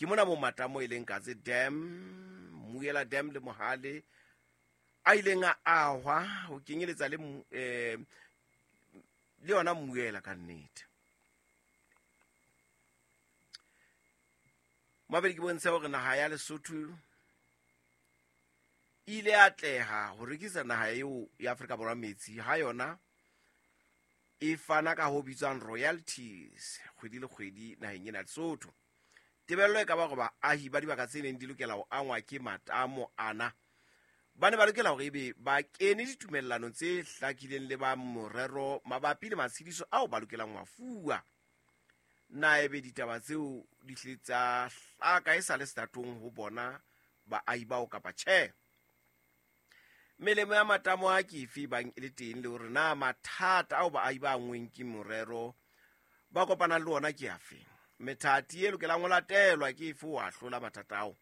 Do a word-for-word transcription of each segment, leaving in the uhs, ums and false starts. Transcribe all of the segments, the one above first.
Ke mona mo matamo e leng Katse Dam, Mmuela Dam le Mohale a ileng a ahwa ho kenyeletsa le eh le yona Mmuela ka nnete. Mabedi ke bontshe hore naha ya Lesotho ile atleha ho rekisa naha eo ya Afrika Borwa metsi ha yona e fana ka ho bitswang royalties kgwedi le kgwedi naheng ena Lesotho. Tebello e ka ba hore baahi ba dibaka tse neng di lokela ho angwa ke matamo ana ba ne ba lokela hore ebe ba kene ditumellanong tse hlakileng le ba morero mabapi le matshediso ao ba lokelang ho a fuwa. Na ebe ditaba tseo di hlile tsa hlaka e sa le setatong ho bona baahi bao kapa tjhe? Melemo ya matamo a ke efe bang e le teng le hore na mathata ao baahi ba angweng ke morero ba kopanang le ona ke afe? Methati e lokelang ho latelwa ke efe ho ahlola mathata ao?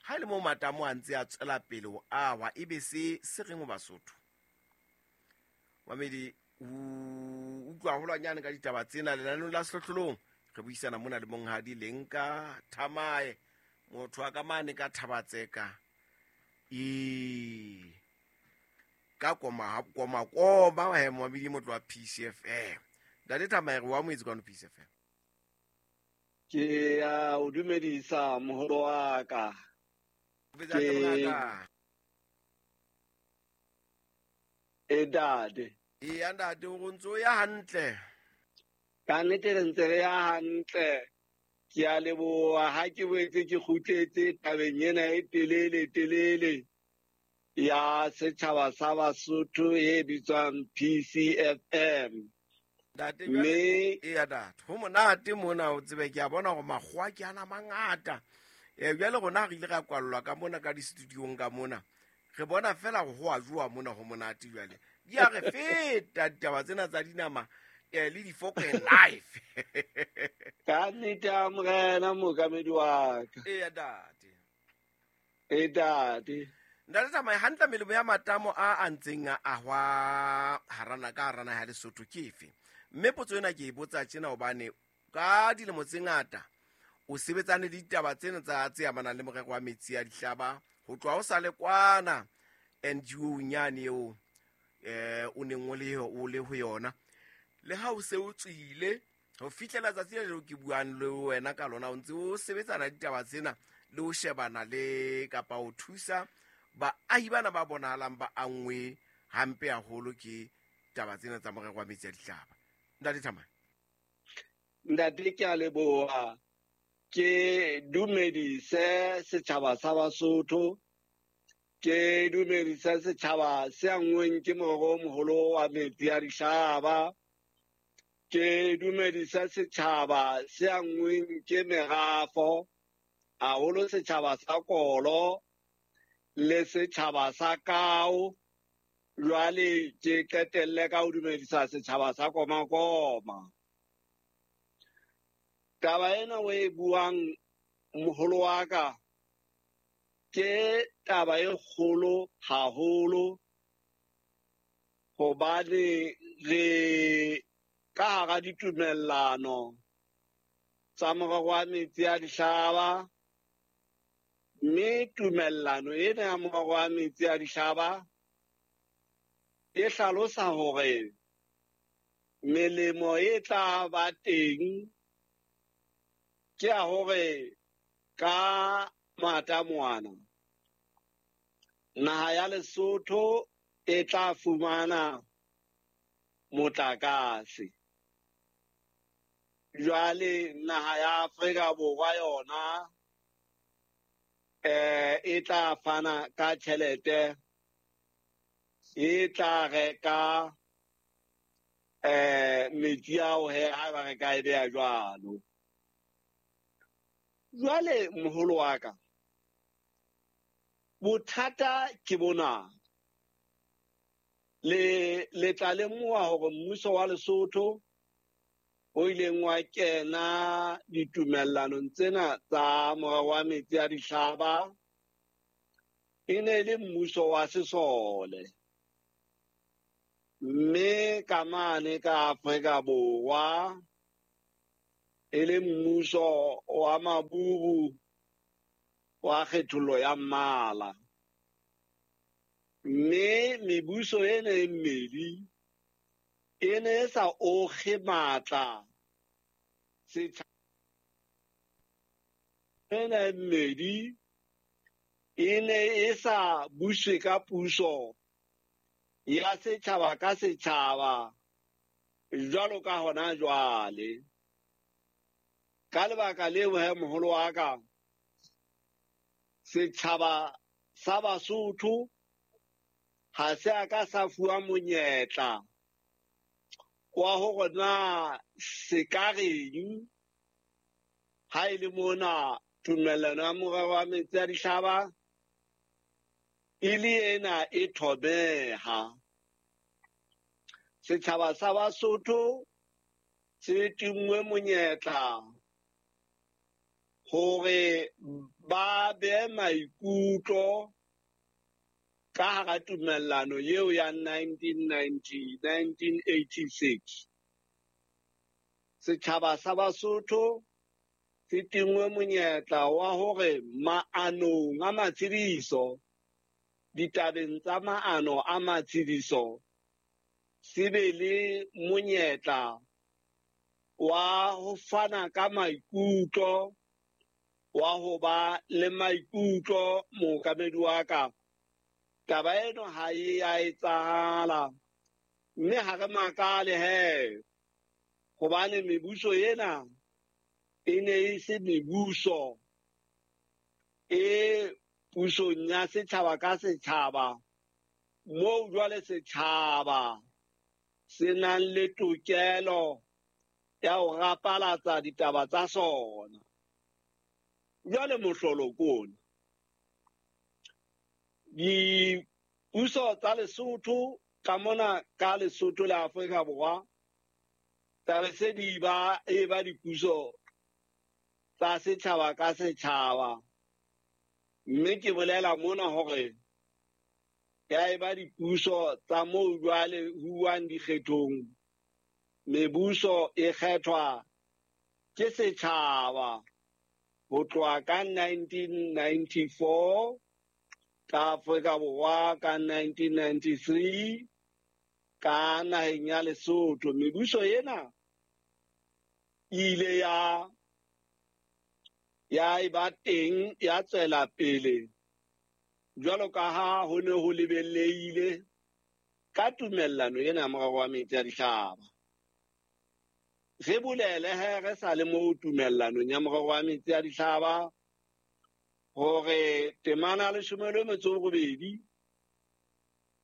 Ha e le moo matamo a ntse a tswela pele ho ahwa, ebe se se reng ho Basotho? Mamedi, o utlwa haholwanyane ka ditaba tsena lenaneong la Sehlohlolong. Re buisana mona le Monghadi Lenka Thamae, motho wa ka mane ka Thabatseka e ka koma koma koma he mamedi motho wa P C F M. Ntate Thamae, re wa moetsi kwano P C F M. Ke a o dumedisa moholo wa ka. Ke e dade. E ntate o ntso ya hantle. Ka nnete re ntse re ya hantle. Ke a leboha ha ke boetse ke kgutletse tabeng ena e telele telele ya setjhaba sa Basotho e bitswang P C F M. Ntate jwale e ya data. Ho monate mona o tsebe ke a bona hore makgowa ke ana mangata. Eh jwale rona re ile ra kwallwa ka mona ka di-studiong ka mona. Re bona fela ho a jowa mona ho monate jwale. Di a re feta ditaba tsena tsa dinama eh le di-fork and life. Ka nnete a morena mookamedi wa ka. E ya date. E date. Ntate Thamae, hantle melemo ya matamo a a ntseng a ahwa harana ka harana ya Lesotho ke efe? Mme potso ena ke e botsa tjena hobane ka dilemo tse ngata o sebetsane le ditaba tsena tsa tse amanang le morero wa metsi a dihlaba ho tloha ho sa le kwana N G O nyane eo eh o neng o le o le ho yona. Le ha o se o tswile ho fihlela tsatsi le leo ke buang le wena ka lona o ntse o sebetsana le ditaba tsena le ho shebana le kapa ho thusa baahi bana ba bonahalang ba angwe hampe haholo ke taba tsena tsa morero wa metsi a dihlaba. Ntate Thamae. Ntate ke a leboha. Ke dumedise setjhaba sa Basotho. Ke dumedise setjhaba se angweng ke morero o moholo wa metsi a dihlaba. Ke dumedise setjhaba se angweng ke merafo, haholo setjhaba sa Kolo le setjhaba sa Kao. Jwale ke qetelle ka ho dumedisa setjhaba sa Komakoma. Taba ena o e buang moholo wa ka ke taba e kgolo haholo, hobane re ka hara ditumellano tsa morero wa metsi a dihlaba, mme tumellano ena ya morero wa metsi a dihlaba e hlalosa hore melemo e tla ba teng ke ya hore ka matamoana naha ya Lesotho e tla fumana motlakase. Jwale naha ya Afrika Borwa yona eh e tla fana ka tjhelete e tla reka eh metsi ao he ha ba reka e beha jwalo. Jwale moholo wa ka, bothata ke bona. Le le tla lemoha hore mmuso wa Lesotho o ileng wa kena ditumellanong tsena tsa morero wa metsi a dihlaba e ne le mmuso wa sesole. Mme ka mane ka Afrika Borwa E le mmuso wa maburu wa kgethollo ya mmala. Mme mebuso ena e mmedi e ne e sa okge matla setjhaba ena e mmedi e ne e sa buswe ka puso ya setjhaba ka setjhaba jwalo ka hona jwale. Ka lebaka leo he moholo wa ka, setjhaba sa Basotho ha se a ka sa fuwa monyetla wa hore na se ka reng ha e le mona tumellano ya morero wa metsi a dihlaba e le ena e thobeha. Setjhaba sa Basotho se tingwe monyetla hore ba behe maikutlo ka hara tumellano eo ya nineteen ninety, nineteen eighty-six. Setjhaba sa Basotho se tingwe monyetla wa hore maanong a matshediso, ditabeng tsa maano a matshediso, se be le monyetla wa ho fana ka maikutlo, wa ho ba le maikutlo mookamedi wa ka. Taba eno ha e a etsahala, mme ha re makale he, hobane mebuso ena e ne e se mebuso e pusong ya setjhaba ka setjhaba, moo jwale setjhaba se nang le tokelo ya ho rapalatsa ditaba tsa sona. Jwale mohlolo ke ona. Dipuso tsa Lesotho ka mona ka Lesotho le Afrika Borwa tsa se di ba e ba dipuso tsa setjhaba ka setjhaba, mme ke bolela mona hore ya e ba dipuso tsa moo jwale huwang dikgethong, mebuso e kgethwa ke setjhaba ho tloha ka nineteen ninety-four ka Afrika Borwa, ka nineteen ninety-three ka naheng ya Lesotho. Mebuso ena e ile ya ya eba teng, ya tswela pele jwalo ka ha ho ne ho lebelehile ka tumellano ena ya morero wa metsi a dihlaba. Re bolele he re sa le moo tumellanong ya morero wa metsi a dihlaba hore temana leshome le metso e robedi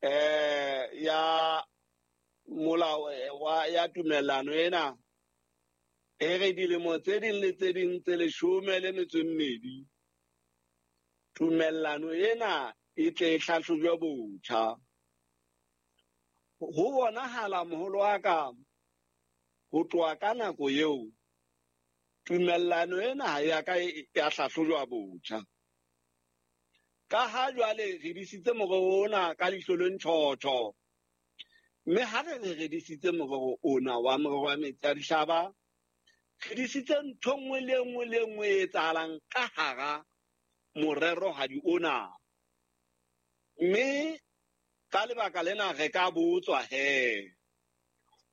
eh ya molao wa ya tumellano ena e re dilemo tse ding le tse ding tse leshome le metso e mmedi tumellano ena e tle e hlahlojwe botjha. Ho bonahala moholo wa ka ho tloha ka nako eo tumellano ena ha ya ka ya hlahlojwa botjha. Ka ha jwale re disitse morero ona ka leihlo le ntjhotjho, mme ha re re re disitse morero ona wa morero wa metsi a dihlaba, re disitse ntho nngwe le nngwe le nngwe e etsahalang ka hara morerohadi ona. Mme ka lebaka lena re ka botswa he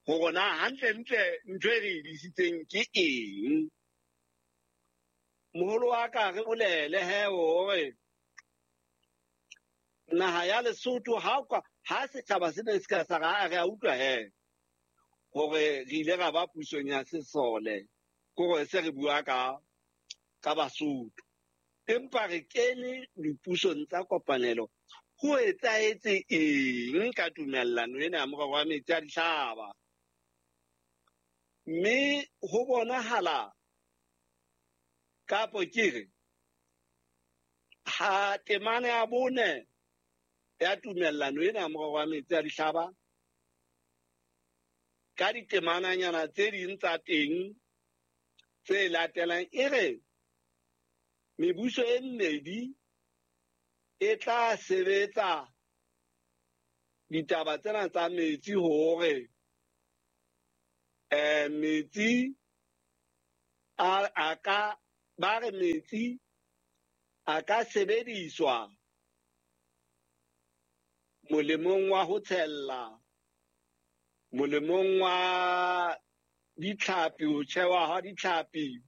hore na hantlentle ntho e re e disitseng ke eng. Moholo wa ka re bolele he hore naha ya Lesotho ha ha setjhaba se ne se ka sa re a utlwa he hore re ile ra ba pusong ya sesole, ke hore se re bua ka ka Basotho, empa re kene dipusong tsa kopanelo. Ho etsahetse eng ka tumellano ena ya morero wa metsi a dihlaba? Mme ho bonahala kapo ke re ha temana ya bone ya tumellano ena ya morero wa metsi a dihlaba ka ditemananyana tse ding tsa teng tse latelang e re mebuso e mmedi e tla sebetsa ditaba tsena tsa metsi hore eh metsi a a ka ba re metsi a ka sebediswa molemong wa ho tshella, molemong wa ditlhapi, ho tjhewa ha ditlhapi,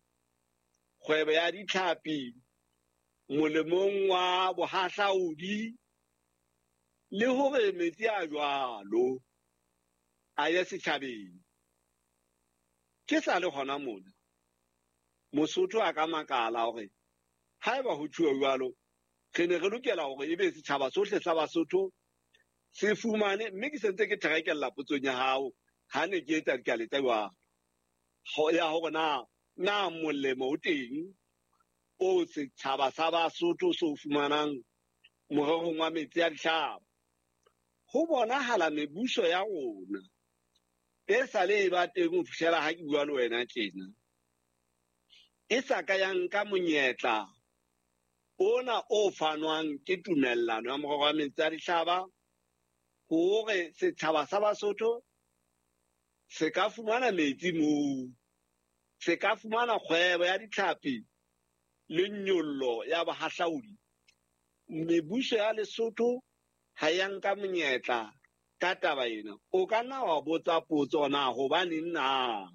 kgwebo ya ditlhapi, molemong wa bohahlaudi, le hore metsi a jwalo a ye setjhabeng. Ke sa le hona mona, Mosotho a ka makala hore haeba ho tjhuwa jwalo, re ne re lokela hore ebe setjhaba sohle sa Basotho se fumane, mme ke sentse ke therekella potsong ya hao ha ne ke etsa dikale tsa jwalo ya hore na na molemo o teng o setjhaba sa Basotho se o fumanang morerong wa metsi a dihlaba. Ho bonahala mebuso ya rona e sa le e ba teng ho fihlela ha ke bua le wena tjena, e sa ka ya nka monyetla ona o fanwang ke tumellano ya morero wa metsi a dihlaba hore setjhaba sa Basotho se ka fumana metsi moo, se ka fumana kgwebo ya ditlhapi le nyollo ya bohahlaudi. Mebuso ya Lesotho ha ya nka monyetla ka taba ena. O ka nna wa botsa potso na hobaneng na?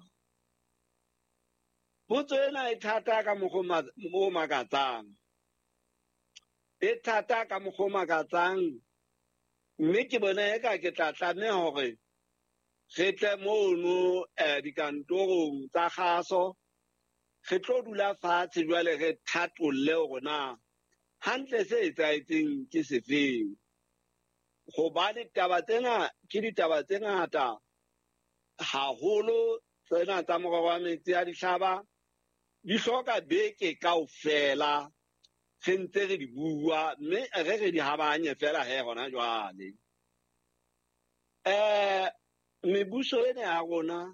Potso ena e thata ka mokgwa o makatsang. E thata ka mokgwa o makatsang, mme ke bona eka ke tla tlameha hore re tle mono dikantorong tsa kgaso, re tlo dula fatshe jwale re thatolle hore na hantle se etsahetseng ke sefeng. Hobane taba tsena ke ditaba tse ngata haholo, tsena tsa morero wa metsi a dihlaba di hloka beke kaofela re ntse re di bua, mme re re di habanye fela he hona jwale. Eh mebuso ena ya rona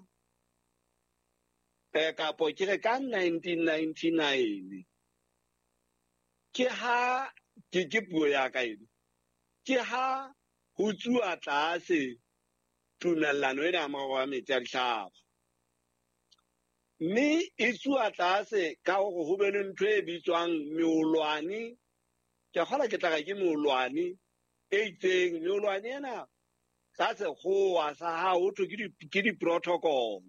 eh kapo ke re ka nineteen ninety-nine ke ha ke ke puo ya ka ena, ke ha ho tsuwa tlase tumellano ena ya morero wa metsi a dihlaba, mme e tsuwa tlase ka hore ho be le ntho e bitswang meolwane. Ke kgola ke tla re ke meolwane e itseng. Meolwane ena ka sekgowa sa hao ho thwe ke di-protocol,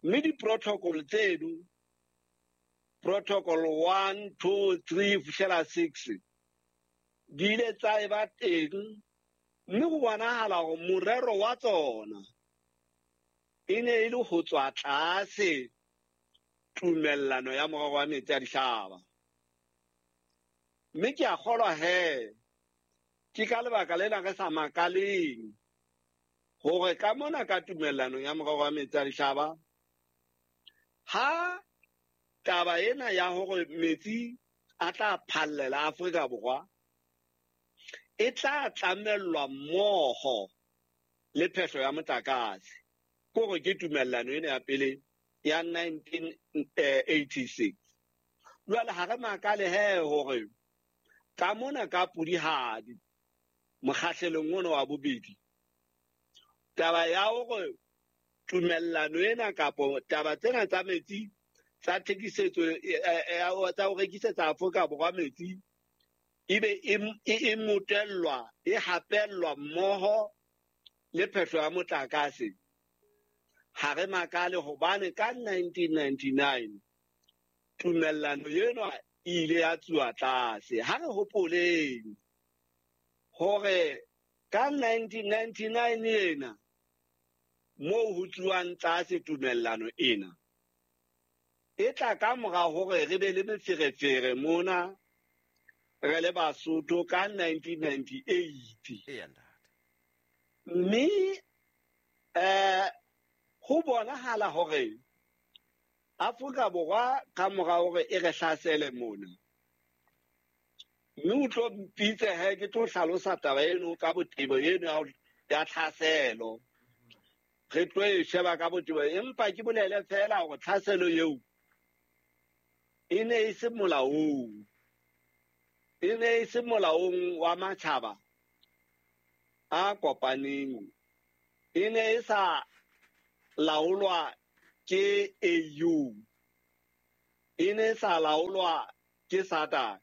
mme di-protocol tseno, protocol one, two, three, fihlela six, di ile tsa eba teng, mme ho bonahala hore morero wa tsona e ne e le ho tswa tlase tumellano ya morero wa metsi a dihlaba. Mme ke a kgolwa he ke ka lebaka lena re sa makaleng hore ka mona ka tumellanong ya morero wa metsi a dihlaba, ha taba ena ya hore metsi a tla phallela Afrika Borwa e tla tlamellwa mmoho le phehlo ya motlakase, kore ke tumellano ena ya pele ya nineteen eighty-six. Jwale ha re makale he hore ka mona ka pudihadi mokgahlelong ona wa bobedi, taba ya hore tumellano ena kapo taba tsena tsa metsi tsa thekisetso tsa ho rekisetsa Afrika Borwa metsi ebe e motellwa e hapellwa mmoho le phehlo ya motlakase, ha re makale hobane ka nineteen ninety-nine tumellano ena e ile ya tsuwa tlase. Ha re hopoleng hore ka nineteen ninety-nine ena moo ho tsuwang tlase tumellano ena e tla ka mora hore re be le meferefere mona re le Basotho ka nineteen ninety-eight. Mme eh ho bonahala hore Afrika Borwa ka mora hore e re hlasele mona, mme o tlo mpitse he ke tlo hlalosa taba eno ka botebo eno ya tlhaselo, re tlo e sheba ka botebo, empa ke bolele fela hore tlhaselo eo e ne e se molaong, e ne e se molaong wa matjhaba a kopaneng, e ne e sa laolwa ke A U, E ne sa laolwa ke SADC.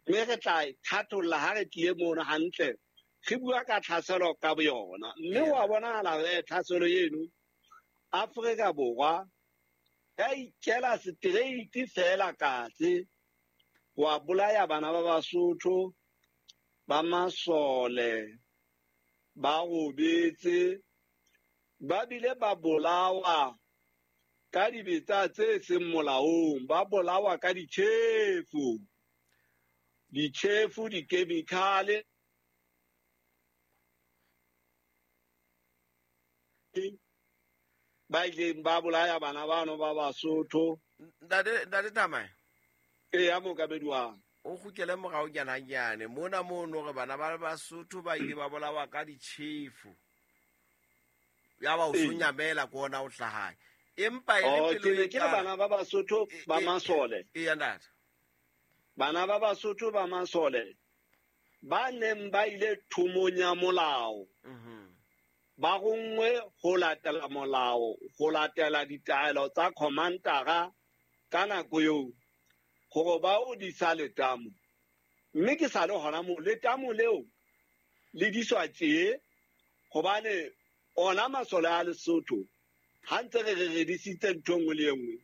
Mme re tla e thatholla ha re tlile mono hantle, re bua ka tlhaselo ka boyona. Mme wa bonahala he tlhaselo eno Afrika Borwa ya ikela straight fela katse wa bolaya bana ba Basotho ba masole ba robetse ba bile ba bolawa ka dibetsa tse seng molaong, ba bolawa ka ditjhefu, ditjhefu, dikhemikhale ba ileng ba bolaya bana bano ba Basotho. Ntate Ntate Thamae. Eya mookamedi wa o kgutlele morao nyana nyane mona mono re bana ba Basotho ba ile ba bolawa ka ditjhefu, ya ba o Ee. sonyamela ko ona o hlahae, empa e le Oh, pelo ke ne e ke le tala. bana ba Basotho E- ba e- masole. Eya ntate. Bana ba Basotho ba masole ba neng ba ile thomong ya molao, Mhm. ba ronngwe ho latela molao, ho latela ditaelo tsa commander ka nako eo hore ba o disa letamo. Mme ke sa le hona moo, letamo leo le diswa tje hobane ona masole a Lesotho ha ntse re re re disitse ntho e nngwe le e nngwe,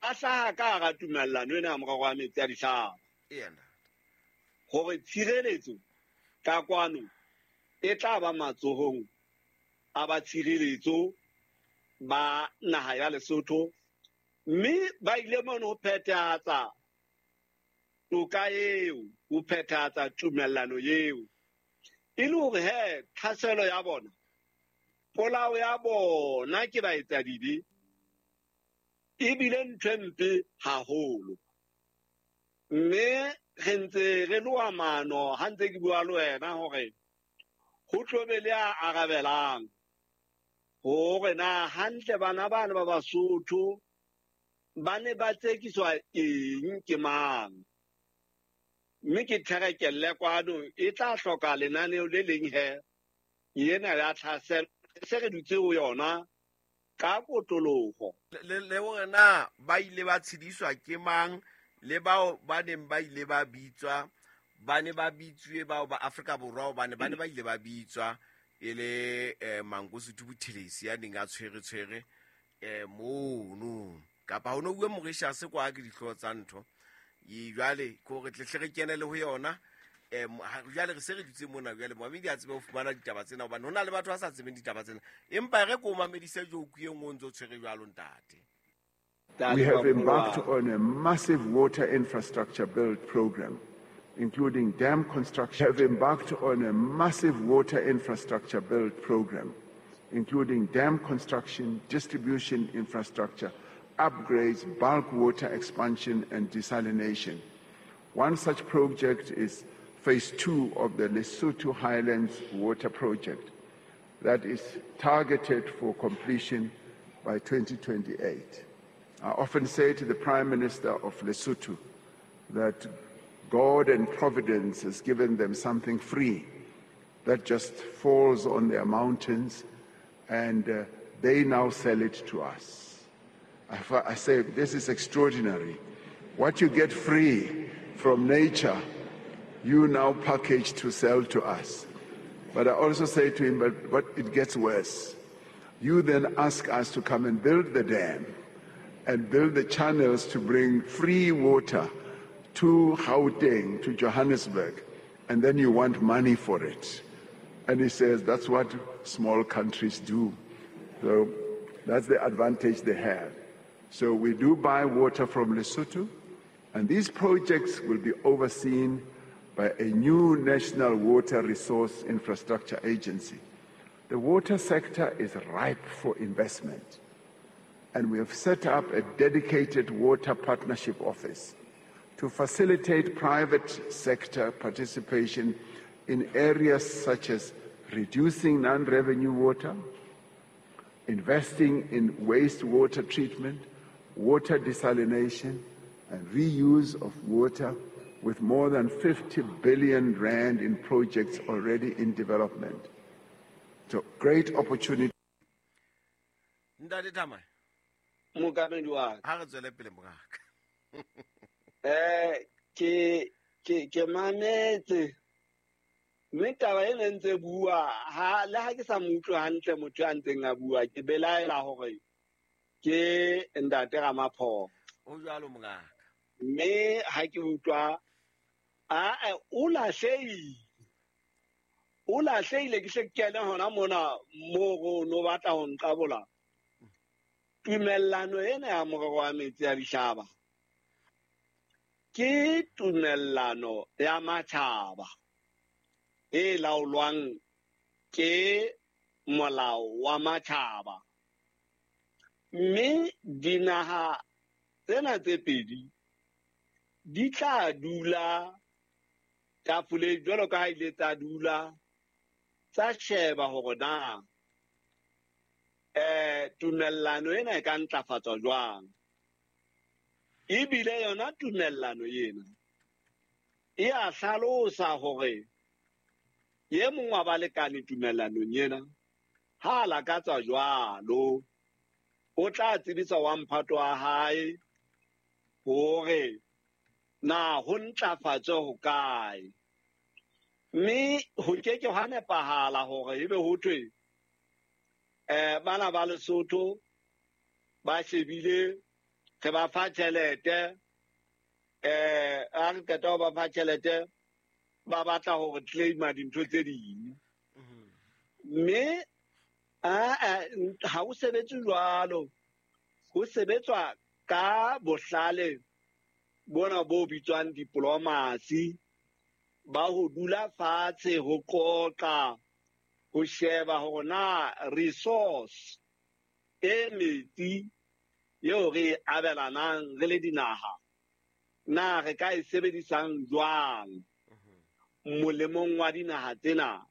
a hlaha ka hara tumellano ena ya morero wa metsi a dihlaba. Eya ntate. Hore tshireletso ka kwano e tla ba matsohong a ba tshireletso ba naha ya Lesotho, mme ba ile mono ho phethahatsa toka eo, ho phethahatsa tumellano eo. E le hore he tlhaselo ya bona, polao ya bona ke baetsadibe, ebile ntho e mpe haholo. Mme re ntse re loha mano ha ntse ke bua le wena hore ho tlo be le a arabelang hore na hantle bana bana ba Basotho ba ne ba tsekiswa eng ke mang. Mme ke therekelle kwano e tla hloka lenaneo le leng he ena ya tlhaselo se re dutse ho yona ka kotloloho. Le, le hore na ba ile ba tshediswa ke mang, le bao ba neng ba ile ba bitswa, ba ne ba bitsuwe bao ba Afrika Borwa hobane ba ne ba ile ba bitswa e le, eh, Mangosuthu Buthelezi ya neng a tshwere tshwere, eh, mono. Kapa ho no bue Mauritius kwa ke dihlooho tsa ntho. E jwale ke hore tle hle re kene le ho yona. Eh, mo-, ha, jwale re se re dutse mona jwale, momamedi a tsebe ho fumana ditaba tsena hobane ho na le batho ba sa tsebeng ditaba tsena. Empa re ko mamedise joke e nngwe o ntso tshwere jwalo ntate. We have embarked on a massive water infrastructure build program, including dam construction. We have embarked on a massive water infrastructure build program, including dam construction, distribution infrastructure, upgrades, bulk water expansion, and desalination. One such project is phase two of the Lesotho Highlands Water Project that is targeted for completion by twenty twenty-eight. I often say to the Prime Minister of Lesotho that God and Providence has given them something free that just falls on their mountains, and, uh, they now sell it to us. I, I say, this is extraordinary. What you get free from nature, you now package to sell to us. But I also say to him, but, but it gets worse. You then ask us to come and build the dam and build the channels to bring free water to Gauteng, to Johannesburg, and then you want money for it. And he says that's what small countries do. So that's the advantage they have. So we do buy water from Lesotho, and these projects will be overseen by a new National Water Resource Infrastructure Agency. The water sector is ripe for investment, and we have set up a dedicated water partnership office to facilitate private sector participation in areas such as reducing non-revenue water, investing in wastewater treatment, water desalination, and reuse of water, with more than fifty billion rand in projects already in development. So great opportunity. Ntate Thamae. Mokamedi wa ka. Ha re tswele pele mongaka. Eh ke ke ke mametse mme taba e ne ntse bua ha le ha ke sa mo utlwe hantle motho a ntseng a bua ke belaela hore ke ntate Ramaphosa. O jwalo mongaka. Mme ha ke utlwa a o lahlehile. O lahlehile ke hle ke kene hona mona mo go no batla ho nqabola. Tumellano ena ya morero wa metsi a dihlaba ke tumellano ya matjhaba e laolwang ke molao wa matjhaba. Mme dinaha tsena tse pedi di tla dula tafoleng jwalo ka ha ile tsa dula tsa sheba hore na eh tumellano ena e ka ntlafatswa jwang. Ebile yona tumellano ena e a hlalosa hore ye mong wa balekane tumellanong ena ha a lakatsa jwalo o tla tsebisa wa mphato wa hae hore na ho ntlafatswe ho kae. Mme ho ke ke hwa nepahala hore ebe ho thwe eh bana ba Lesotho ba shebile re ba fa tjhelete eh a re qeta ho ba fa tjhelete ba batla hore claima dintho tse ding. Mme a ha o sebetse jwalo, ho sebetswa ka bohlale bona bo bitswang diplomacy ba ho dula fatshe ho qoqa ho sheba hore na resource e metsi eo re abelanang re le dinaha na re ka e sebedisang jwang molemong wa dinaha tsena.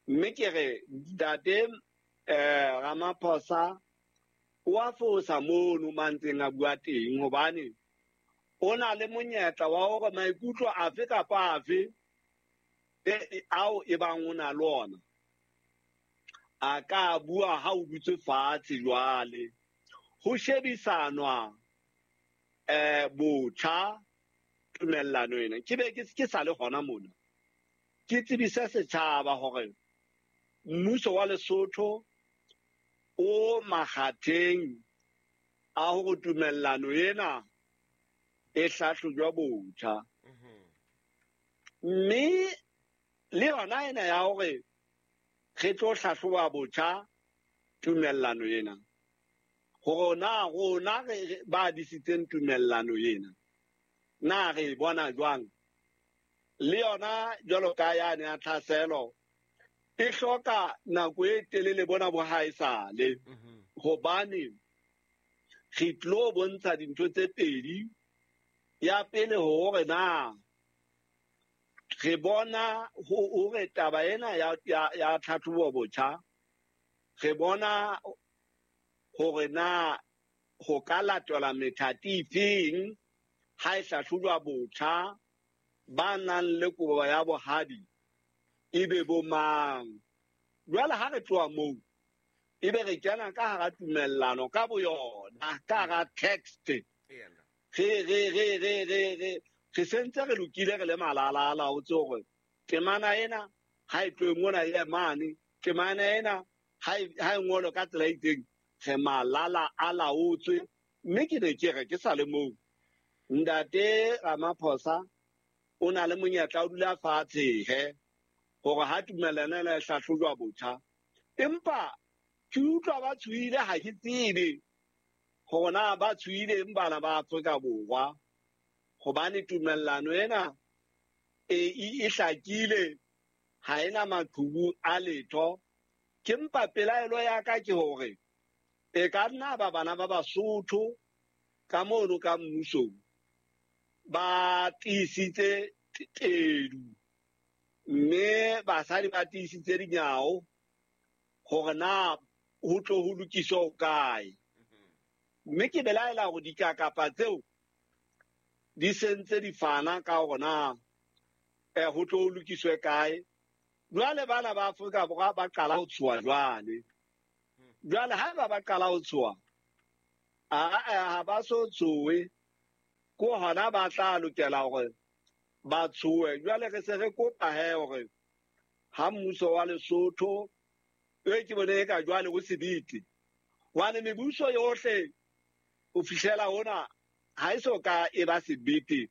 Mme ke re ntate eh Ramaphosa o a fosa mono mantseng a bua teng hobane o na le monyetla wa hore maikutlo afe kapa afe ao e bang o na le ona a ka bua ha o dutse fatshe jwale ho shebisanwa eh botjha tumellano ena. Ke be ke sa le hona mona ke tsebise setjhaba hore mmuso wa Lesotho o makgatheng a hore tumellano ena e hlahlojwa botjha. Mme le yona ena ya hore re tlo hlahloba botjha tumellano ena hore na rona re ba disitseng tumellano ena na re bona jwang. Le yona jwalo ka yane ya tlhaselo e hloka nako e telele bona bo haesale hobane re tlo bontsha dintho tse pedi. Ya pele hore na re bona hore taba ena ya ya tlhatlhobo botjha re bona hore na ho ka latelwa methati efeng ha e hlahlojwa botjha ba nang le kobo ya bohadi ebe bo mang. Jwale ha re tloha moo ebe re kena ka hara tumellano ka boyona ka hara text re re re re re re re sentse re lokile re le malalala o tse hore temana ena ha e tlohe mona e mane temana ena ha e ngolwe ka tsela e itseng re malala a laotswe. Mme ke ne ke re ke sa le moo ntate Ramaphosa o na le monyetla o dula fatshe he hore ha tumellano ena e hlahlojwa botjha. Empa ke utlwa ba tshohile ha ke tsebe hore na ba tshohileng bana ba Afrika Borwa hobane tumellano ena e e hlakile ha ena maqhubu a letho. Ke mpa pelaelo ya ka ke hore e ka nna ba bana ba Basotho ka mono ka mmusong ba tiisitse tedu mme basadi ba tiisitse dinyawo hore na ho tlo ho lokiswa ho kae. Mme ke belaela hore dikakapa tseo di sentse di fana ka hore na eh ho tlo ho lokiswe kae. Jwale bana ba Afrika Borwa ba qala ho tshoha jwale. Jwale haeba ba qala ho tshoha A ha ba so tshohe, ko hona ba tla lokela hore ba tshohe. Jwale re se re kopa he hore ha mmuso wa Lesotho e ke bone e ka jwale o sebete, hobane mebuso yohle ho fihlela hona ha e so ka e ba sebete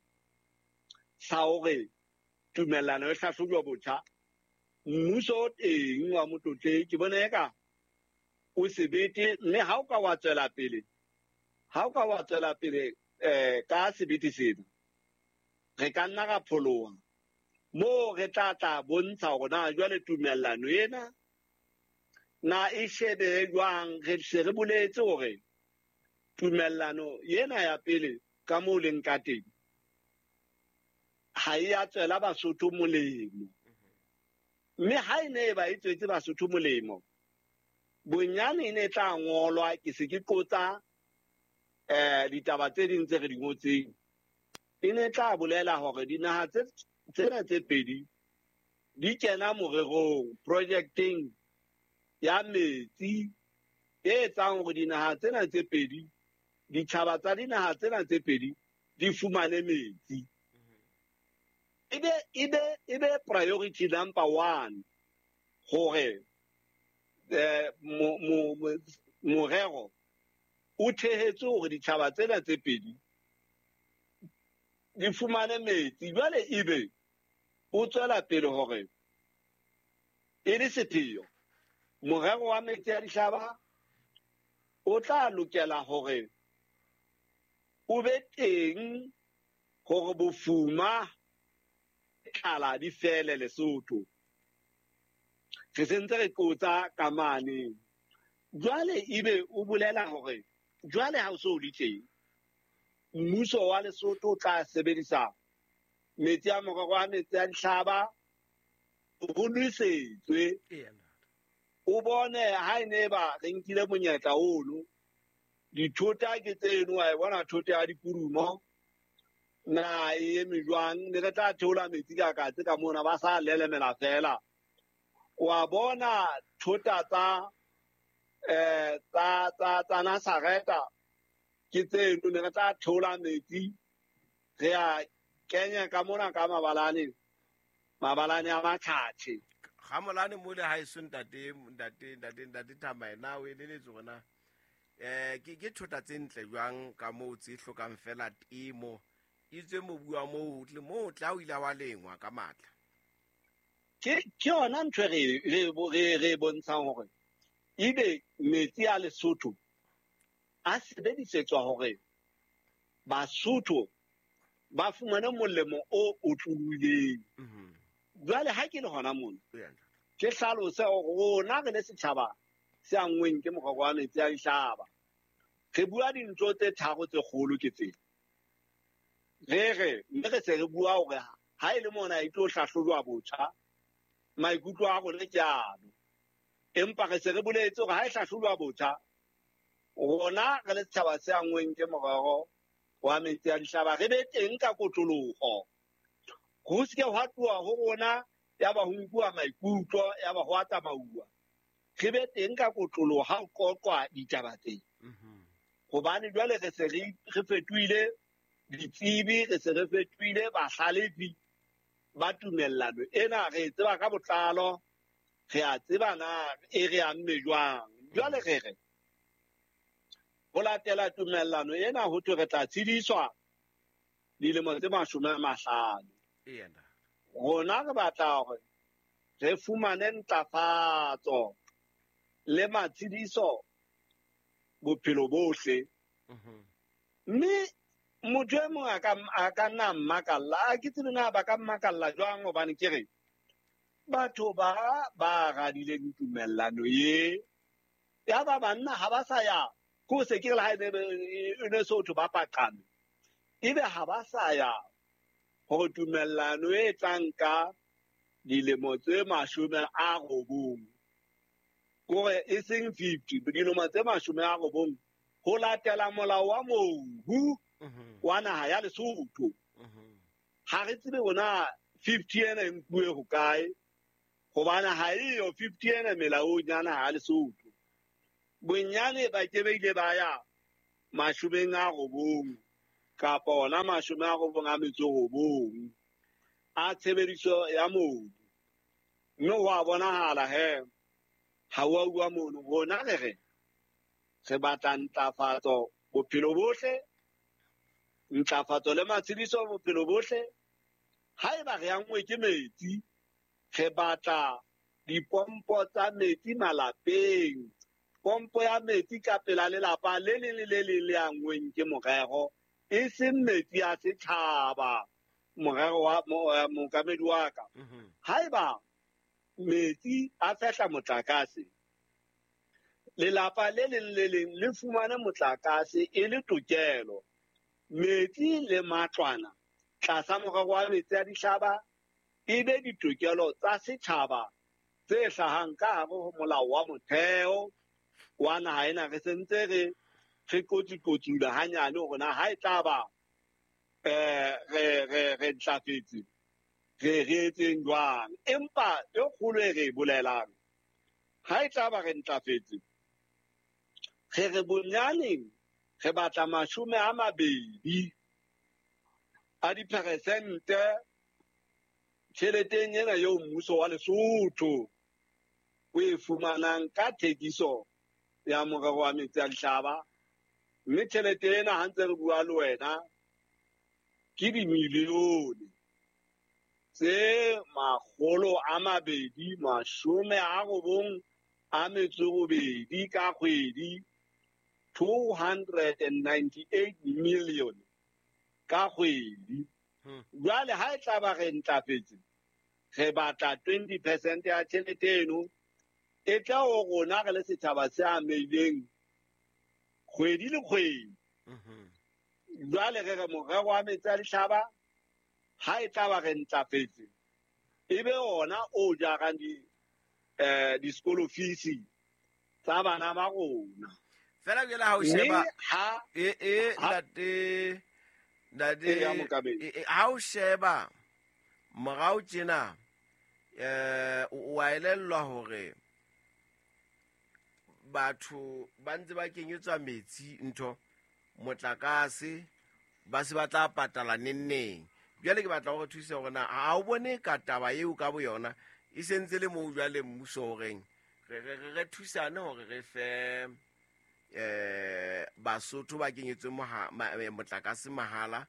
sa hore tumellano e hlahlojwa botjha. Mmuso o teng wa Motlotleng ke bone eka o sebete, mme ha o ka wa tswela pele, ha o ka wa tswela pele eh ka sebete sena, re ka nna ra pholoha moo re tla tla bontsha hore na jwale tumellano ena na e shebe jwang. Re se re boletse hore tumellano ena ya pele ka moo leng ka teng ha e a tswela Basotho molemo, mme ha e ne e ba e tswetse Basotho molemo, bonyane e ne e tla ngolwa. Ke se ke qotsa eh ditaba tse ding tse re di ngotseng, e ne e tla bolela hore dinaha tse tsena tse pedi di kena morerong, projecteng ya metsi e etsang hore dinaha tsena tse pedi, ditjhaba tsa dinaha tsena tse pedi di fumane metsi. Ebe ebe ebe priority number one hore eh morero o thehetse hore ditjhaba tsena tse pedi di fumane metsi. Jwale ebe o tswela pele hore e le sepheo morero wa metsi a dihlaba o tla lokela hore o be teng hore bofuma tlala di fele Lesotho. Re sentse re qotsa ka mane. Jwale ebe o bolela hore jwale ha o so le teng, mmuso wa Lesotho o tla sebedisa metsi a morero wa metsi a dihlaba ho nwesetswe. O bone ha e ne ba re nkile monyetla ono, dithota ke tseno, wa e bona thota ya dikurumo na e eme jwang, ne re tla theola metsi ka katse ka mona ba sa lelemela fela. Wa bona thota tsa eh tsa tsa tsa Nazareta ke tseno, ne re tla theola metsi re a kenya ka mona ka mabalane, mabalane a matjhatjhe. Ga molane mo le ha e so ntate ntate ntate ntate Thamae, na o eleletse hore na eh ke ke thota tse ntle jwang ka moo tse hlokang fela temo, itswe mobu wa moo le moo tla o ile wa lengwa ka matla. Ke ke yona ntho re re re re bontshang hore ebe metsi a Lesotho a sebedisetswa hore Basotho ba fumane molemo o otlolohileng. Jwale ha ke le hona mona, ke hlalose hore rona re le setjhaba se anngweng ke morero wa metsi a dihlaba, re bua dintho tse tharo tse kgolo ke tsena. Re re mme re se re bua hore ha e le mona e tlo hlahlojwa botjha, maikutlo a rona ke ano. Empa re se re boletse hore ha e hlahlojwa botjha, rona re le setjhaba se anngweng ke morero wa metsi a dihlaba re be teng ka kotloloho. Ho se ke hwa tloha ho rona ya ba ho nkuwa maikutlo, ya ba ho a tsamauwa. Re be teng ka kotloloho ha ho qoqwa ditaba tsena. Hobane jwale re se re fetohile ditsebi, re se re fetohile bahlalefi ba tumellano ena, re e tseba ka botlalo, re a tseba na e re amme jwang. Jwale re re ho latela tumellano ena ho thwe re tla tshediswa dilemo tse mashome a mahlano. Rona re batla hore re fumane ntlafatso le matshediso bophelo bohle. Mme motho e mong a ka a ka nna mmakalla, a ke tsebe na ba ka mmakalla jwang, hobane ke re batho ba ba radileng tumellano ye ya ba banna ha ba sa ya ko se ke re ha e ne Sotho ba paqame, ebe ha ba sa ya hore tumellano e tlang ka dilemo tse mashome a robong, kore e seng fifty, dilemo tse mashome a robong ho latela molao wa mobu wa naha ya Lesotho. Ha re tsebe bona fifty ena e nkuwe hokae, hobane ha eyo fifty ena melaong ya naha ya Lesotho. Bonyane ba ke ba ile ba ya mashomeng a robong kapa ona mashome a robong a metso robong a tshebediso ya mobu. Mme ho a bonahala he ha wa uwa mono rona re re re batla ntlafatso bophelo bohle, ntlafatso le matshediso bophelo bohle. Haeba re angwe ke metsi, re batla dipompo tsa metsi malapeng, pompo ya metsi ka pela lelapa le leng le le leng le angweng ke morero, e seng metsi a setjhaba. Morero wa mookamedi wa ka, haeba metsi a fehla motlakase, lelapa le leng le leng le fumane motlakase e le tokelo. Metsi le matlwana tlasa morero wa metsi a dihlaba e be ditokelo tsa setjhaba tse hlahang ka hare ho molao wa motheo wa naha ena. Re sentse re re kotsi-kotsula hanyane hore na ha e tla ba eh re re re ntlafetse re re etseng jwang. Empa e kgolo e re e bolelang, ha e tla ba re ntlafetse, re re bonyaneng re batla mashome a mabedi a diperesente tjheleteng ena eo mmuso wa Lesotho o e fumanang ka thekiso ya morero wa metsi a dihlaba. Mme tjhelete ena ha ntse re bua le wena ke dimilione tse makgolo a mabedi mashome a robong a metso robedi ka kgwedi, two hundred and ninety-eight million ka kgwedi. Jwale ha e tla ba re ntlafetse, re batla twenty percent ya tjhelete eno e tla ho rona re le setjhaba se ameileng kgwedi le kgwedi. Jwale re re morero wa metsi a dihlaba ha e tla ba re ntlafetse, e be ona o jarang di eh di-school fees tsa bana ba rona. Fela jwale ha o sheba e e ntate ntate ha o sheba morao tjena eh o a elellwa hore batho ba ntse ba kenyetswa metsi ntho motlakase ba se ba tla patala nenneng. Jwale ke batla hore thuse hore na ha o bone ka taba eo ka boyona e sentse le moo jwale mmuso horeng re re re thusane hore re fe eh Basotho ba kenyetswe motlakase mahala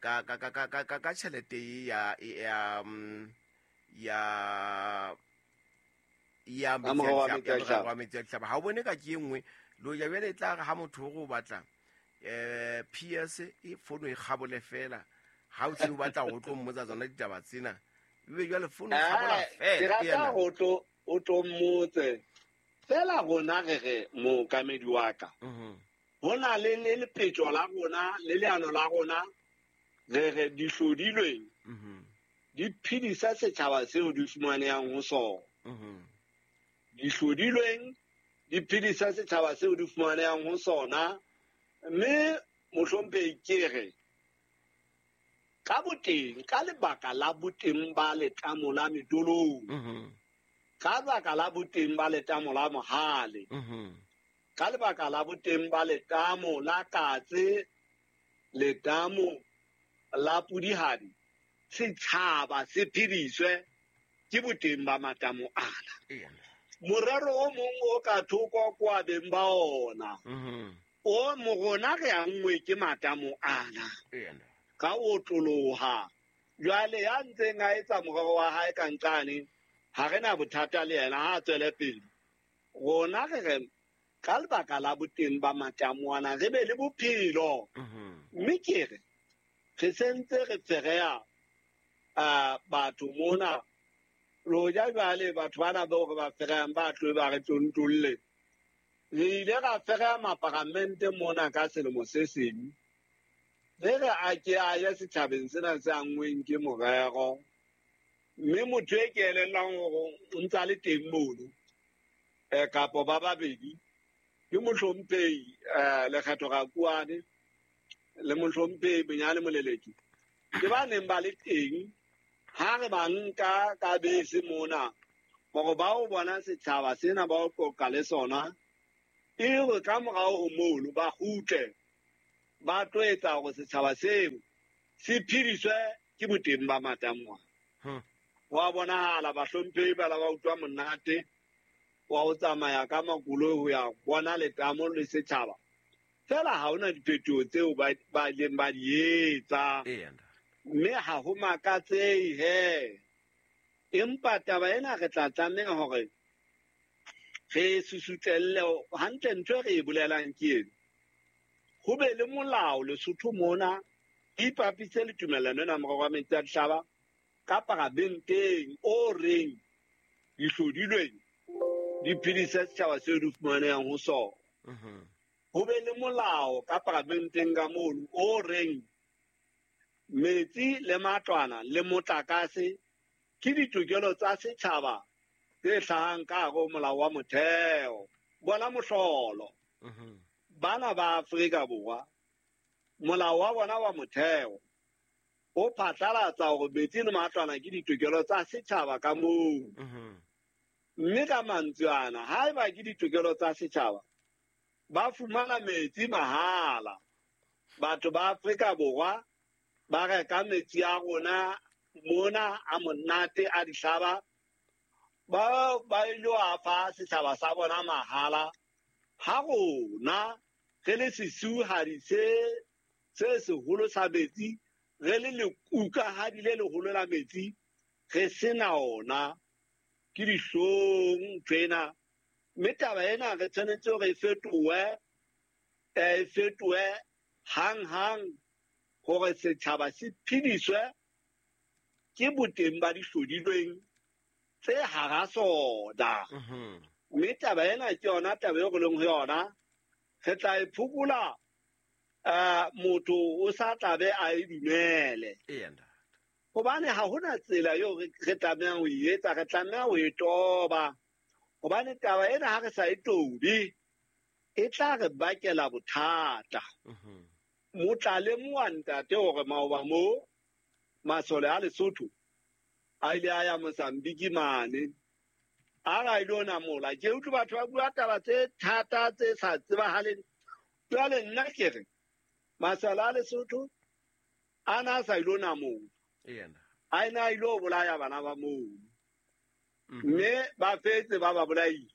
ka ka ka ka ka ka tjhelete ya ya ya ya metsi a dihlaba. Ha o bone ka ke e nngwe lo ya jwale e tla re ha motho o batla eh P S e fono e kgabole fela ha o se o batla ho tlo mmotsa tsona ditaba tsena ebe jwale fono e kgabola fela. Ke rata ho tlo o tlo mmotse fela. Rona re re mookamedi wa ka, ho na le le lepetjo la rona le leano la rona re re di hlodilweng di phedisa setjhaba seo di fumanehang ho sona. Di hlodilweng di phedisa setjhaba seo di fumanehang ho sona. Mme mohlomphehi ke re ka boteng, ka lebaka la boteng ba letamo la Metolong, ka lebaka la boteng ba letamo la Mohale, ka lebaka la boteng ba letamo la Katse, letamo la Pudihadi, setjhaba se phediswe ke boteng ba matamo ana. Morero o mong o ka thoko kwa beng ba ona o morona re angwe ke matamo ana ka o tloloha. Jwale ya ntseng a etsa morero wa hae ka nqane, ha re na bothata le yena, ha a tswele pele. Rona re re ka lebaka la boteng ba matamo ana re be le bophelo. Mme ke re re sentse re fereya batho mona lo ja jwale batho bana bao re ba fereyang ba tlo ba re tontolle. Re ile ra fereya maparamente mona ka selemo se seng, re re a ke a ye setjhabeng sena se angweng ke morero. Mme motho e ke elellang hore o ntse a le teng mono eh kapo ba babedi ke mohlomphehi eh Lekgetho Rakuane le mohlomphehi Benyane Moleleki, ke ba neng ba le teng ha re ba nka ka bese mona hore ba o bona setjhaba sena ba o qoqa le sona. E re ka morao ho mono ba kgutle ba tlo etsa hore setjhaba seo se phediswe ke boteng ba matamo. Wa bonahala bahlomphehi ba la ba utlwa monate wa ho tsamaya ka makoloi ho ya bona letamo le setjhaba. Fela ha hona diphetoho tseo ba ba ileng ba di etsa. Mme ha ho makatsehe he. Empa taba ena re tla tlameha hore re susutlelle hantle ntho e re e bolelang ke ena. Ho be le molao Lesotho mona, ipapise le tumellano ena morero wa metsi a dihlaba ka paramenteng o reng dihlodilweng di phedise setjhaba seo di fumanehang ho sona. Ho be le molao ka paramenteng ka mono o reng metsi le matlwana le motlakase ke ditokelo tsa setjhaba tse hlahang ka hare ho molao wa motheo. Bona mohlolo. Bana ba Afrika Borwa, molao wa bona wa motheo o phatlalatsa hore metsi le matlwana ke ditokelo tsa setjhaba ka moo. Mme ka mantswe ana, haeba ke ditokelo tsa setjhaba, ba fumana metsi mahala. Batho ba Afrika Borwa ba reka metsi a rona mona a monate a dihlaba, ba ba ilo a fa setjhaba sa bona mahala. Ha rona re le sesuhadi se se seholo sa metsi, re le lekukahadi le leholo la metsi, re sena ona. Ke dihlong ntho ena. Mme taba ena re tshwanetse hore e fetohe, e fetohe hang-hang hore setjhaba se phediswe ke boteng ba dihlodilweng tse hara sona. Mme taba ena ke yona taba eo re leng ho yona. Re tla e phokola, eh, motho o sa tlabe a e dumele. Hobane ha hona tsela eo re tlamehang ho e etsa, re tlameha ho e toba. Hobane taba ena ha re sa e tobe, e tla re bakela bothata. Motla lemoha ntate hore maoba moo masole a Lesotho a ile a ya Mozambique mane, a ra ilo namola. Ke utlwe batho ba bua taba tse thata tse sa tsebahaleng. Jwale nna ke re masole a Lesotho a na sa ilo namola, a ina ilo bolaya bana ba moo, mme ba fetse ba ba bolaile.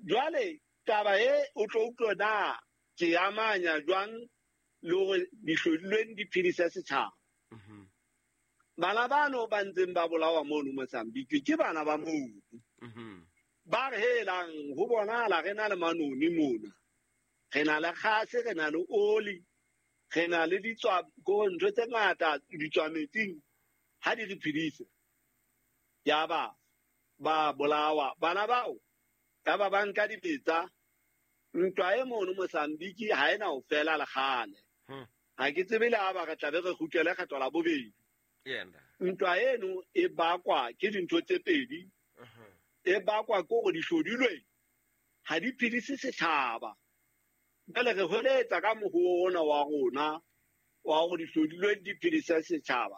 Jwale taba e o tlo utlwa na ke amanya jwang le hore dihlodilweng di phedise setjhaba. Bana bano ba ntseng ba bolawa mono Mozambique ke bana ba mono. Ba re helang ho bonahala re na le manoni mona, re na le kgase, re na le oli, re na le ditswa ko ntho tse ngata ditswa metsing, ha di re phedise. Yaba ba bolawa bana bao, yaba ba nka dibetsa. Ntwa e mono Mozambique ha ena ho fela le kgale. Ha ke tsebe le ha ba re tlabe re kgutlele kgetho la bobedi. Ntwa eno e bakwa ke dintho tse pedi. E bakwa ke hore dihlodilweng ha di phedise setjhaba. Jwale re hweletsa ka mohoo ona wa rona wa hore dihlodilweng di phedise setjhaba,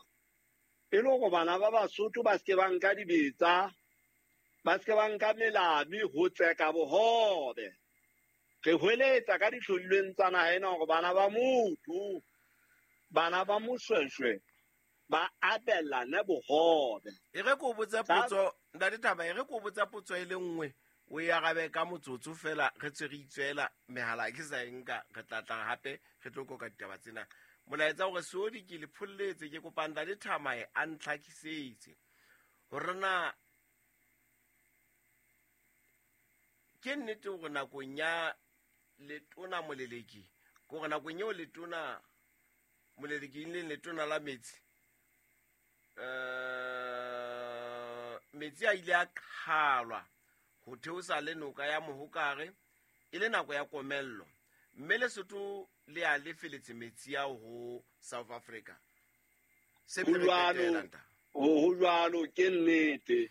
e le hore bana ba Basotho ba se ke ba nka dibetsa, ba se ke ba nka melami ho tseka bohobe. Re hweletsa ka dihlodilweng tsa naha ena hore bana ba motho, bana ba Moshweshwe ba abelane bohobe. E re ko botsa potso, ntate Thaba, e re ko botsa potso e le nngwe, o e arabe ka motsotso fela, re tswe re itswela mehala ke sa e nka, re tla tla hape re tlo koka ditaba tsena. Molaetsa hore Seodi ke le pholletse, ke kopa ntate Thamae a ntlhakisetse hore na ke nnete hore nakong ya letona Moleleki, ke hore nakong eo letona Moleleki e leng letona la metsi, eh metsi a ile a qhalwa ho theosa le noka ya Mohokare e le nako ya komello, mme Lesotho le a lefeletse metsi ao ho South Africa. Se Ho jwalo, ho jwalo ke nnete.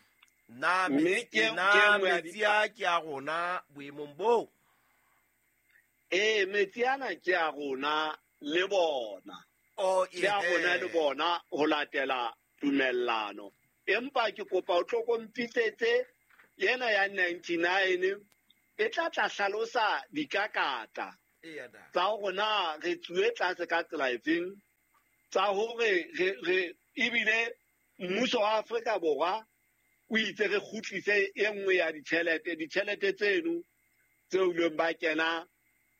Na Mme ke na ke nngwe ya metsi a ke a rona boemong boo? Ee, metsi ana ke a rona le bona. Oh, Ke a rona le bona ho latela tumellano. Empa ke kopa o tlo kompitsetse yena ya ninety-nine E tla tla hlalosa dikakata tsa hore na re tsuwe tlase ka tsela efeng, tsa hore re re ebile mmuso wa Afrika Borwa o itse re kgutlise e nngwe ya ditjhelete, ditjhelete tseno tseo ileng ba kena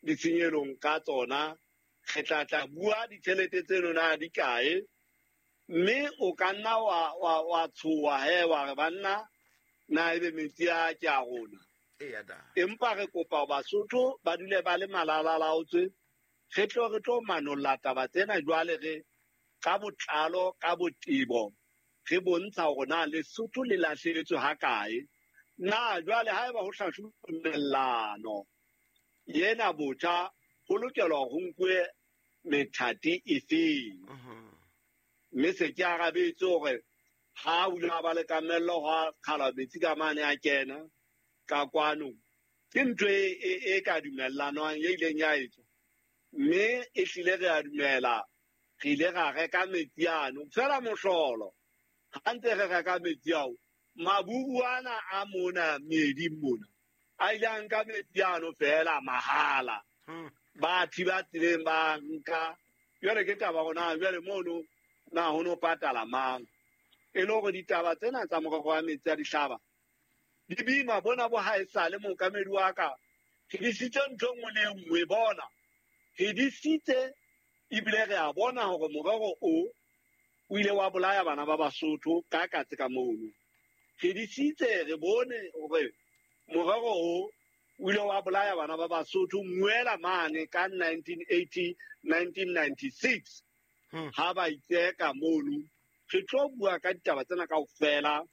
ditshenyelong ka tsona. Re tla tla bua ditjhelete tseno na di kae, mme o ka nna wa wa wa tshoha he wa re banna na ebe metsi a ke a rona. Empa re kopa Basotho ba dule ba le malalalaotswe, re tlo re tlo manolla taba tsena jwale re ka botlalo ka botebo re bontsha hore na Lesotho le lahlehetswe ha kae. Na jwale haeba ho hlahloba yena botjha ho lokelwa ho nkuwe methati efeng. Mme se ke arabetse hore ha o ile ba le kamello ha kgala metsi ka mane a kena ka kwano, ke ntho e ka dumellanwang e ileng ya etswa, mme e hlile re a dumela re ile ra reka metsi ano. Fela mohlolo ha ntse re reka metsi ao, maburu ana a mona meeding mona a ile a nka metsi ano fela mahala, ba thiba tseleng ba nka. Jwale ke taba hore na jwale mono na ho no patala mang, e le hore ditaba tsena tsa morero wa metsi a dihlaba di boima bona bo haesale mookamedi wa ka. Re disitse ntho e nngwe le e nngwe bona, re disitse ebile re a bona hore morero o o ile wa bolaya bana ba Basotho ka katse ka mono. Re disitse re bone hore morero o o ile wa bolaya bana ba Basotho ngwela mane ka nineteen eighty nineteen ninety-six ha ba itseka mono. Re tlo bua ka ditaba tsena kaofela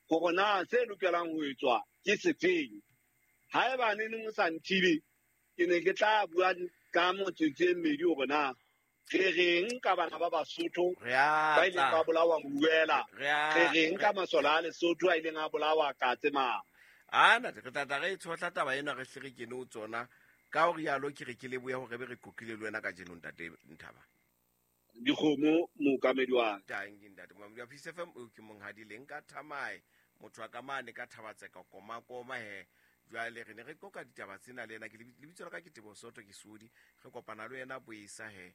hore na se lokelang ho etswa ke sefeng. Haeba ne neng o sa nthibe, ke ne ke tla bua ka motsotso e mmedi hore na re reng ka bana ba Basotho ba ileng ba bolawa Mbuela, re reng ka masole a Lesotho a ileng a bolawa Katse mane. Ana re tla tla re tshohla taba ena re hle re kene ho tsona. Ka hore yalo ke re ke lebohe hore be re qoqile le wena kajeno ntate Nthaba. Dikgomo mookamedi wa tangi ntate Moamedi wa Peace F M o ke monghadi leng ka Thamae, motho wa ka mane ka Thabatseka koma koma he. Jwale re ne re qoqa ditaba tsena le yena. Ke lebitso la ka ke Teboho Soto ke Sodi, re kopana le yena boesa he,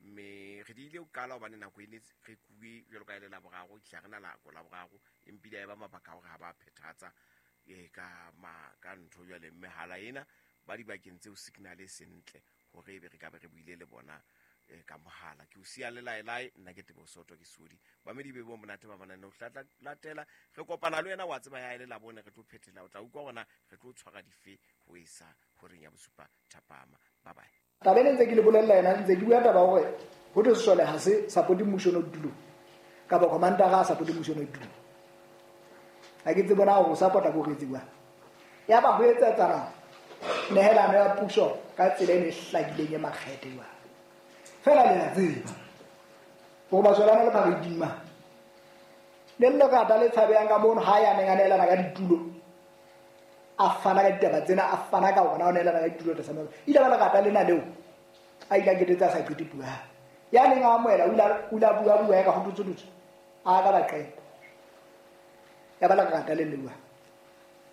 mme re di ile ho qala hobane nako e ne re kuwe jwalo ka e le Laboraro, ke tla re na nako Laboraro empile ya eba mabaka a hore ha ba phethatsa e ka ma ka ntho jwale mehala ena ba dibakeng tseo signal e sentle hore ebe re ka be re buile le bona ka mohala. Ke o siya le laelae, nna ke Teboho Soto ke Sodi. Bamedi be bo monate ba manane ho tla latela. Re kopana le wena wa tseba ya ile la bone re tlo phethela, o tla utlwa hore na re tlo tshwara dife ho isa horeng ya bosupa thapama. Bye bye. Taba ena ntse ke le bolella yona, ntse ke bua taba hore ho thwe sesole ha se support mmuso no tulo kapa commander ha support mmuso no tulo. Ha ke tsebe na hore o support-a ko re tsebang. Ya ba ho etsetsana nehelano ya puso ka tsela e ne hlakileng e makgethe jwang. Fela le a tseba hore masole ana le pharedima le lerata le tshabehang ka mono ha ya neng a nehelana ka ditulo, a fana ka ditaba tsena, a fana ka hore na o nehelana ka ditulo tlasa maemo. Ile ba lerata lena leo a ile a ketetse a sa qete puo ya hae. Ya neng a amohela o ile o ile a bua bua ya ka ho tutsu tutsu, a ka ba qeta. Ya ba lerata le leo.